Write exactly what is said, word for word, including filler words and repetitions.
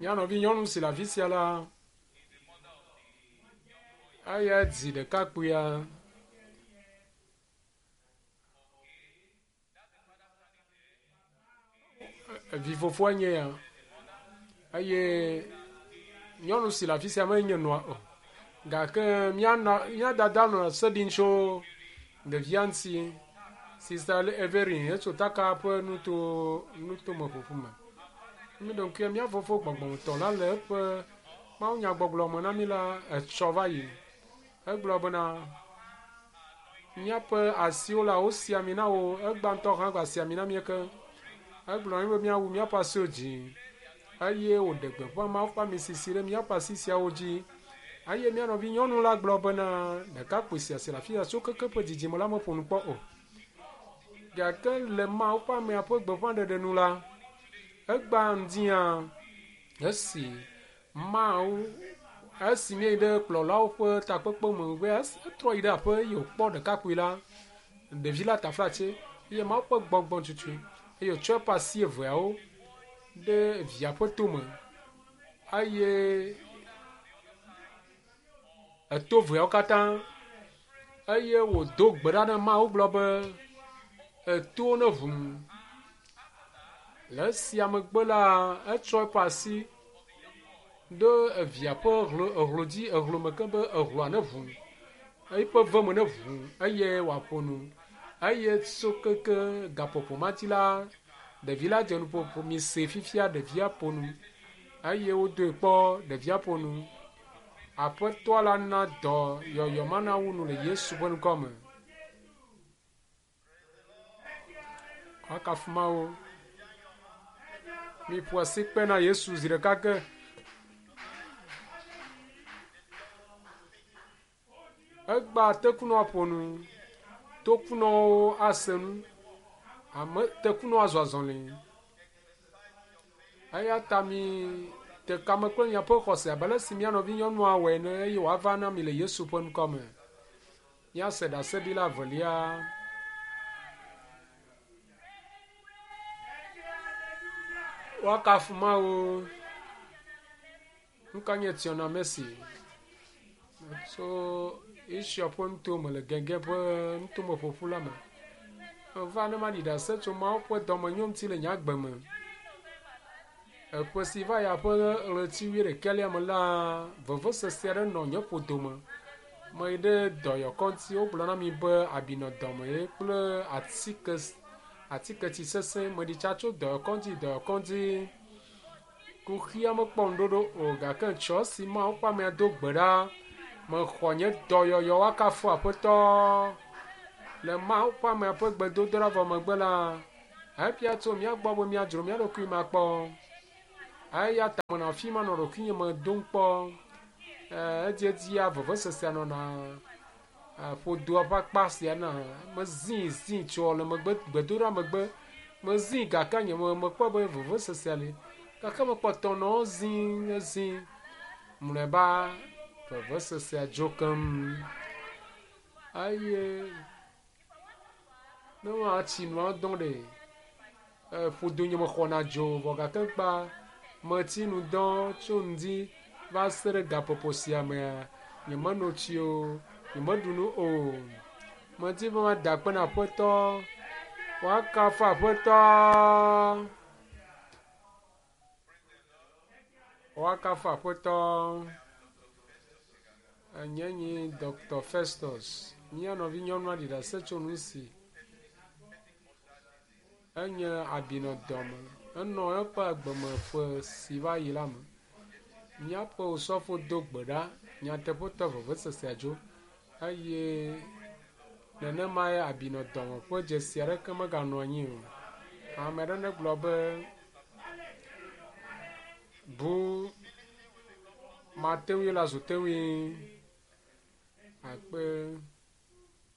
Mía nɔvi nyɔnu si le afi sia la, eya dzi ɖekakpuia. Vi fofoa nye ya eye nyɔnu si le afi sia menye nɔa o gake mía nɔ mía dada nɔ se ɖim tso ɖevia ŋuti. Sista Everin etso Taka ƒe nuto nutome ƒoƒu me. Mi ɖo ŋkuia mía fofo gbɔgbɔmetɔ la le eƒe mawunyagbɔgblɔ me na mi la etsɔ va yi. Egblɔ bena míaƒe asiwo la wosi ami na wo egba ŋutɔ hã gba si ami na mí ke. Egblɔ na mí be míawu míaƒe asiwo dzi eye wòɖe gbeƒã Mawu ƒe ami sisi ɖe míaƒe asi siawo dzi. Eye mía nɔvi nyɔnu la gblɔ bena ɖekakpui sia si le afi sia tso keke ƒe dzidzime la meƒo nu kpɔ o. Gake le Mawu ƒe amea ƒe gbeƒãɖeɖe nu la, egba ŋdia esi Mawu esi míeyi ɖe kplɔlawo ƒe takpekpe me be etrɔ yi ɖe aƒe eye wòkpɔ ɖekakpui la, ɖevi la taflatse eye Mawu ƒe gbɔgbɔ tutui eye wòtsɔ eƒe asi eveawo ɖe via ƒe tome eye eto veawo katã eye wòdo gbe ɖa na Mawu gblɔ be etowo ne ʋum. Le esia megbe la, etsɔ eƒe asi ɖo evia ƒe hlo ehlo dzi ehlo me ke be ehloa ne ʋu eƒe ve me ne ʋu eye wòaƒo nu eye tso keke gaƒoƒo ma dzi la ɖevi la dze nuƒoƒo mi se fifia ɖevia ƒo nu eye wodoe kpɔ ɖevia ƒo nu. Aƒetɔ la na dɔ yɔyɔ ma na wu nu le Yesu ƒe ŋkɔ me. Woakafu Mawu. Miƒo asi kpe na Yesu zi ɖeka ke. Egba tekunɔ ƒo nu, tokunɔwo ase nu, ame tekunɔ azɔ azɔli. Eya ta mi te kame kple miaƒe xɔse abe ale si mía nɔvi nyɔnua wɔe ene eye wòava na mi le Yesu ƒe ŋkɔ me. Míase ɖaseɖila evelia. Woakafu Mawu. Ŋkɔ nye Tiona Messi. Tso Israel ƒe nutome le Gɛgɛ ƒe nutome ƒoƒu la me. Meva ne maɖi ɖase tso Mawu ƒe dɔmenyo ŋuti le nye agbe me. Eƒe si va ya ƒe ɣleti wuiɖekɛlia me la, vevesese aɖe nɔ nye ƒodome. Meyi ɖe dɔyɔkɔŋuti wogblɔ na mi be abi nɔ dɔme ye kple atike atiketsi sesẽ. Meɖi tsa tso dɔyɔkɔŋuti yi dɔyɔkɔŋuti. Kuxia mekpɔ ŋuɖoɖo o gake tsɔ si Mawu ƒe amea do gbe ɖa. Mexɔ nye dɔyɔyɔ woakafu Aƒetɔ. Le Mawu ƒe amea ƒe gbedodoɖa vɔ megbe la, ebia tso mía gbɔ be míadzro mía ɖokui me akpɔ. Eya ta menɔ afi ma nɔ ɖokuinye me dom kpɔ. Edziedzia vevesesea nɔna ƒodoa ƒe akpa sia na mezii zii tso le megbe gbedoɖa megbe mezii gake nye me mekpɔ be vevesesea li gake mekpɔtɔ nɔ zii zii mlɔeba vevesesea dzo keŋ eye ne woatsi nua dɔm ɖe ƒodo nye mexɔna dzo vɔ gake kpa metsi nu dɔ tso ŋdi va se ɖe gaƒoƒo sia mea nyemeno tsi o nyemeɖu nu o medi be mada akpe na Aƒetɔ woakafu Aƒetɔ woakafu Aƒetɔ enye nyi Dr. Festus mía nɔvi nyɔnua ɖi ɖase tso nu si enye abi nɔ dɔme enɔ eƒe agbeme ƒe si va yi la me. Míaƒe osɔfo do gbe ɖa nyateƒetɔ vevesesea dzo eye nenemae abi nɔ dɔme ƒe dzesi aɖeke meganɔ anyi o. Ame aɖe negblɔ be bu mate ŋui la zu te ŋui akpe.